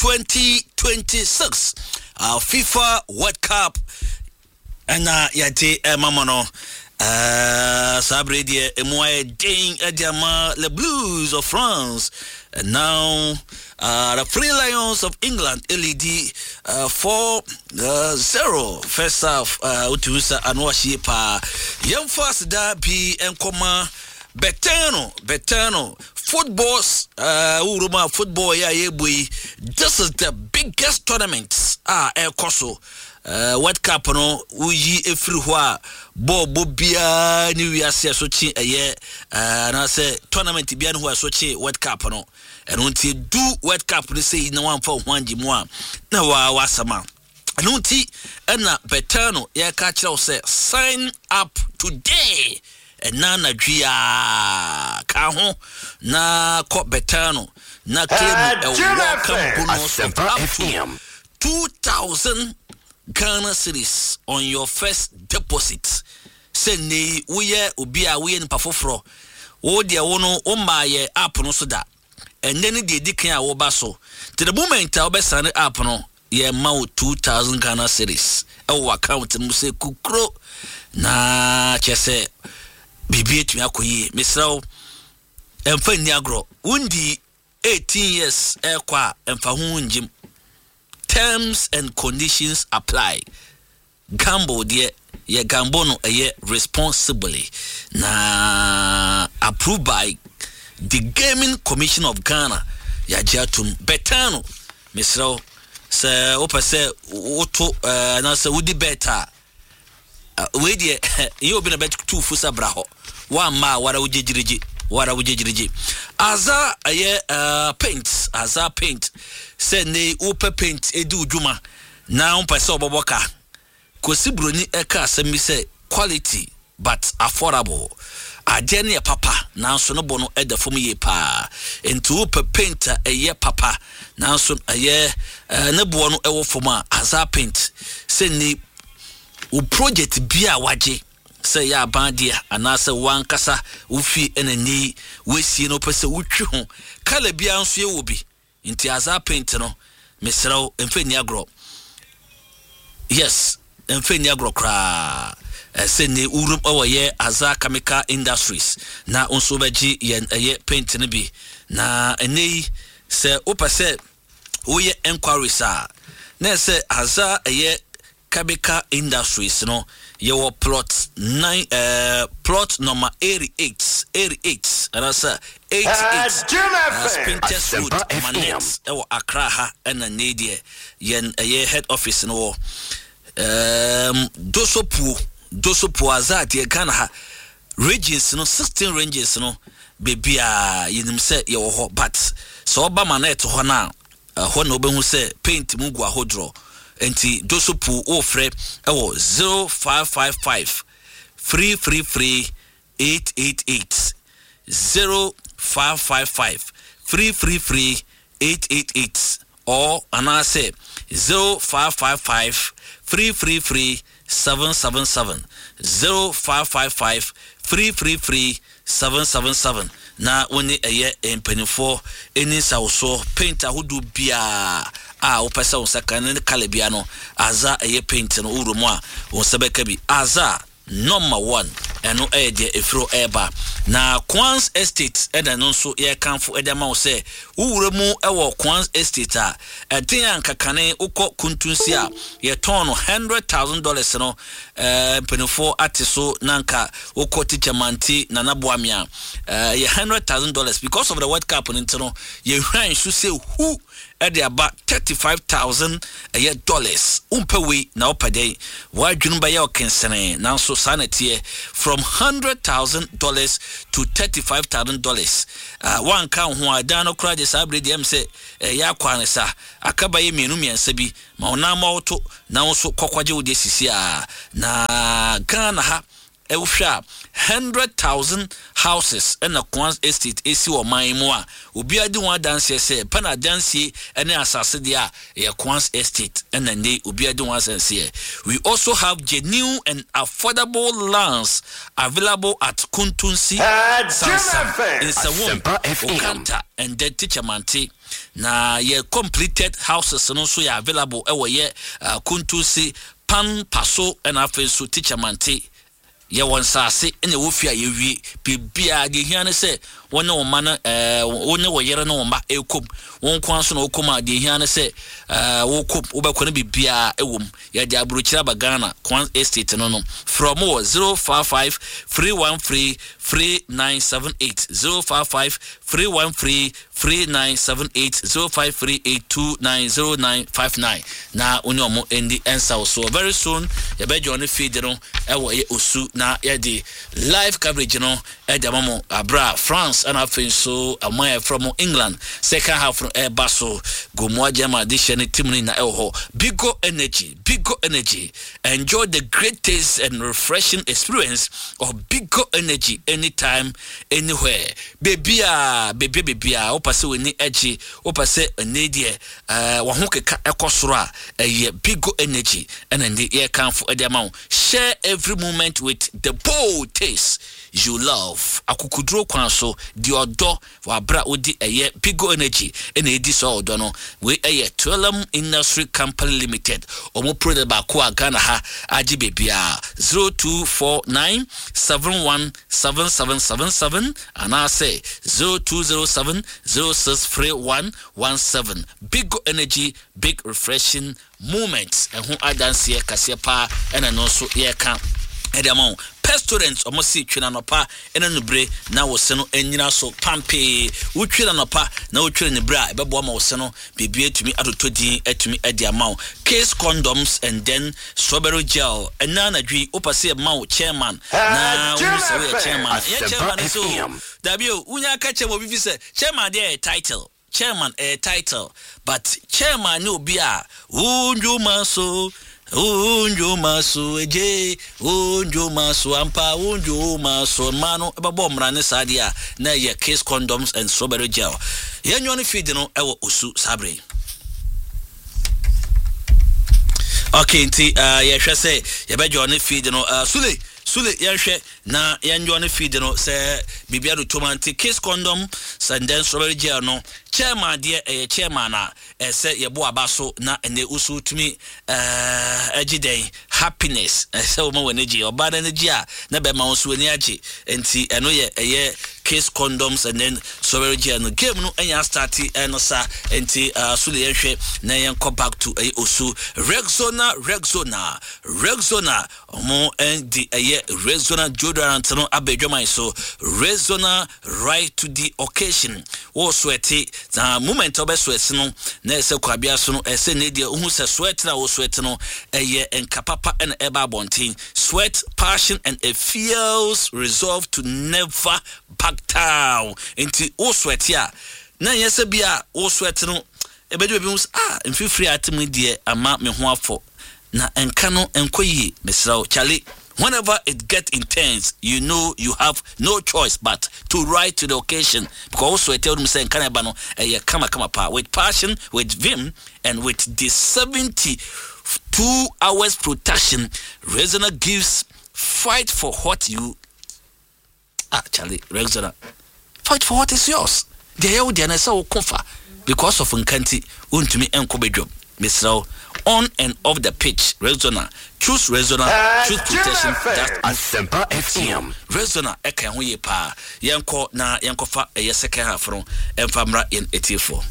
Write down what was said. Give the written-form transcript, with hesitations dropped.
2026 FIFA World Cup ɛna yɛde ɛma mo no. Saa bere deɛ emu ayɛ den ɛde ama the Blues of France, and now the Three Lions of England ɛlead 4-0 first half. Wotumi sɛ ano ahyie paa. Yɛmfa aseda bi nkɔma Betano. Betano footballs, wowuro mu a football yɛ a yɛbɔ yi, this is the biggest tournament a ɛrekɔ so. World Cup no woyi efiri hɔ a, bɔɔl biara ne wiase ɛso kye ɛyɛ anaasɛ tournament biara ne hɔ a ɛso kye World Cup no. Ɛno nti du World Cup no sɛ yi na wamfa wo ho angye mu a, na waa wasɛm a ɛno nti ɛna Betano yɛka kyerɛ wo sɛ sign up today. Ɛna anadwo a ka ho na kɔ Betano na claim a welcome bonus of up to 2000 Ghana cedis on your first deposit. Sɛ nne woyɛ obi a woyɛ nipa foforɔ, wo deɛ wo no womaa yɛ app no so da, ɛnɛ ne deɛ di kan a woba so, nti the moment a wobɛsane app no, yɛma wo 2000 Ghana cedis ɛwɔ account no mu sɛ kukuro, na kyerɛ sɛ biribi atumi akɔ yie. Mesrɛ wo, ɛmfa nni agorɔ. Wondi 18 years ɛkɔ a, ɛmfa ho ngyim. Terms and conditions apply. Gamble deɛ, yɛ gamble no ɛyɛ responsibly, na approved by the Gaming Commission of Ghana, yɛagye atom. Betano, mesrɛ wo, sɛ wopɛ sɛ woto anaasɛ wodi bet a, wei deɛ yɛ obi na bɛtu fo sɛ bra hɔ. Woamma a, wara wogyegyirigye, wara wogyegyirigye. Aza ɛyɛ paint, Aza Paint, sɛ ne wopɛ paint edi wo dwuma na wopɛ sɛ wɔbɔbɔ ka Kosi Buroni ɛka asɛm bi sɛ quality but affordable. Adeɛ no yɛ papa nanso ne bo no ɛda fam yie paa. Nti wopɛ paint a ɛyɛ papa nanso ɛyɛ ne boɔ no ɛwɔ fam a, Aza Paint. Sɛ ni wo project bi a wagye sɛ ɛyɛ aban deɛ anaasɛ wankasa wo fie ɛna ni woasie no, wopɛ sɛ wotwi ho colour biara nso yɛwɔ bi. Nti Aza Paint no, mesrɛ wo, mfa nni agorɔ. Yes, mfa nni agorɔ koraa. Ɛsɛ ne wurum ɛwɔ yɛ Aza Chemical Industries na wo nso wobɛgye yɛn ɛyɛ paint no bi. Na ɛnɛ yi sɛ wopɛ sɛ woyɛ enquiries a, na ɛsɛ Aza ɛyɛ Chemical Industries no, yɛwɔ plot 9, plot number 88, 88 anaasɛ 88 Spintex Road, Manet, ɛwɔ Accra ha. Ɛna ne deɛ yɛn ɛyɛ head office no wɔ Dosopuo. Dosopuo Aza deɛ, Ghana ha regions no, 16 regions no, beebi a yɛnim sɛ yɛwɔ hɔ, but sɛ ɔba Manet hɔ no a, ɛhɔ na wobɛhu sɛ paint mu gu ahodoɔ. Nti Dosopuo, wofrɛ ɛwɔ 0555 333 888, 0555 333 888 or anaasɛ 0555 333 777, 0555 333 777, na wo ne ɛyɛ mpanimfoɔ ani nsawosoɔ. Paint ahodoɔ biara a wopɛ sɛ wo nsa ka ne colour bia no, Aza ɛyɛ paint no, wowura mu a, wo nsa bɛka bi. Aza number one, ɛno ɛyɛ deɛ ɛfiri ɛreba. Na Kwans Estate ɛna ɛno nso yɛrekamfo ɛde ama wo sɛ wowura mu ɛwɔ Kwans Estate a, ɛden a nkakane wokɔ Kuntunsi a yɛtɔn no $100,000 no, mpanimfoɔ ate so. Na nka wokɔ Teacher Mante Nana Boamea, ɛyɛ $100,000. Because of the World Cup no nti no, yɛhwan so sɛ hu ɛde aba 35,000 ɛyɛ dollars. Wompɛ wei na wopɛ dɛn? W'adwene bɛyɛ ɔkensene, nanso saa na teɛ. From $100,000 to $35,000. Wanka wo ho a, dan no koraa de saa bere deɛ ɛm sɛ ɛyɛ akɔ ane sa aka bɛyɛ mmienu mmiɛnsa bi ma wo nan ma woto na wo nso kɔkɔgye wo deɛ sisi a na Ghana ha. Wohwɛ a, 100,000 houses na Koans Estate esi wɔ ɔman yi mu a obiara di ho adanseɛ sɛ pɛ na adansie ne asase deɛ a ɛyɛ Koans Estate na nnɛ yi obiara di ho asanseɛ. We also have genuine and affordable lands available at Kuntunsi, Sansam, Nsawam, Okanta and then Teachermante. Na yɛ completed houses no nso yɛ available wɔ yɛ Kuntunsi, Pan Paso ɛna afei nso Teachermante. Yɛwɔ nsaase na ɛwɔ fie a yɛawie biribiara. Deɛ ɛhia ne sɛ wo ne wo mma no ɛɛ wo ne wo yere ne wo mma ɛrekɔ mu. Wo nko ara nso na wokɔ mu a, deɛ ɛhia ne sɛ ɛɛ wokɔ mu, wobɛkɔ no biribiara ɛwɔ mu. Yɛde aburokyire aba Ghana, Kwan Estate no no. Frɛ wɔn wɔ 055 313 3978, 055 313 3978, 0538 290959 na wo ne wɔn ndi nsawosoɔ. Very soon yɛbɛgye wɔn feed no. Ɛwɔ yɛ osu na yɛde live coverage no ɛde ama mo abere a France ɛna afei nso ɔman a yɛfrɛ mo England second half no ɛreba so. Gomoa German de hyɛ ne team no nyinaa ɛwɔ hɔ. Bigo Energy, Bigo Energy, enjoy the great taste and refreshing experience of Bigo Energy anytime, anywhere. Bebia, bebia, bebia, wopɛ sɛ w'ani agye, wopɛ sɛ ɛnɛ deɛ ɛɛ wɔn ho keka ɛkɔ soro a, ɛyɛ Bigo Energy ɛna ɛnde yɛrekamfo ɛde ama wo. Share every moment with the bold taste you love. Akukuduro kwan so, di ɔdɔ wɔ abere a wodi ɛyɛ Bigo Energy ɛna edi saa ɔdɔ no. Wei ɛyɛ Twelem Industry Company Limited wɔn product baako a Ghana ha agye baabiara. 0249 71 7777 anaasɛ 0207 0631 17. Bigo Energy, big refreshing moment. Ɛho adanseɛ kaseɛ paa ɛna ɛno nso yɛreka ɛde ama wo. Pestorant ɔmo se twe no anɔpa ɛna anubere na wo se no anyina so pampee. Wotwe no anɔpa na wotwe no anubere a ɛbɛboa ma wo se no biribi atumi atotɔ din atumi ɛde ama wo. Case condoms and then strawberry gel. Ɛnɛ anadwo yi wopɛ sɛ yɛma wo chairman na wohu sɛ woyɛ chairman a, ɛnyɛ chairman ne sɛ o, dabi o, wonya ka kyerɛ ma obi fi sɛ chairman deɛ ɛyɛ title. Chairman ɛyɛ title but chairman ne obi a wo ndwuma so wo ndwuma so egye wo ndwuma so ampa wo ndwuma so mmaa no ɛbɛbɔ mmara ne saa deɛ a na ɛyɛ kiss condoms and strawberry gel yɛn nwa no feed no ɛwɔ osu saa bere yi. Okay nti uh, yɛhwɛ sɛ yɛbɛgye ɔne feed no uh, Sule Sule yɛnhwɛ Na yɛn ne feed no sɛ biribi ado tom a nti kiss condom sɛ ndɛ strawberry gel no chairman deɛ ɛyɛ chairman a ɛsɛ yɛbɔ aba so na ɛnɛ woso tumi ɛgye dɛn happiness ɛsɛ wɔma w'ani gye ɔbaa no ani gye a na bɛma wo nso w'ani agye nti ɛno yɛ ɛyɛ kiss condoms and then strawberry gel no game no ɛnya start ɛno sa nti uh, so de yɛnhwɛ na yɛnkɔ back to ɛyɛ osu Rexona Rexona Rexona Wɔde ɛyɛ Rexona deodorant no aba adwaman so. Rexona right to the occasion. Wo sweat na moment a wobɛ sweat no na ɛsɛ kwabea so no ɛsɛ ne deɛ wohu sɛ sweat na wo sweat no ɛyɛ nka papa ɛna ɛba abɔnten. Sweat, passion and a fierce resolve to never back down. Nti wo sweat a na ɛnyɛ sɛ bi a wo sweat no ɛbɛdu baabi ho sɛ ah mfifiri a ate mu deɛ ama me ho afɔ. Na nka no nkɔ yie mesrɛ wo Charlie whenever it get intense you know you have no choice but to rise to the occasion because wo sweat a wonim sɛ nka na ɛba no ɛyɛ kama kama paa with passion with vim and with the 72 hours protection Rexona gives fight for what you Ah Charlie Rexona fight for what is yours deɛ ɛyɛ wo deɛ no ɛsɛ wo ko fa because of nka nti wontumi nkɔ badwam mesrɛ wo on and off the pitch Rexona choose Rexona choose protection that Asempa FM. Rexona ɛka ɛho yie paa yɛnkɔ na yɛnkɔfa ɛyɛ second half no ɛmfa mmra yɛn atiefoɔ.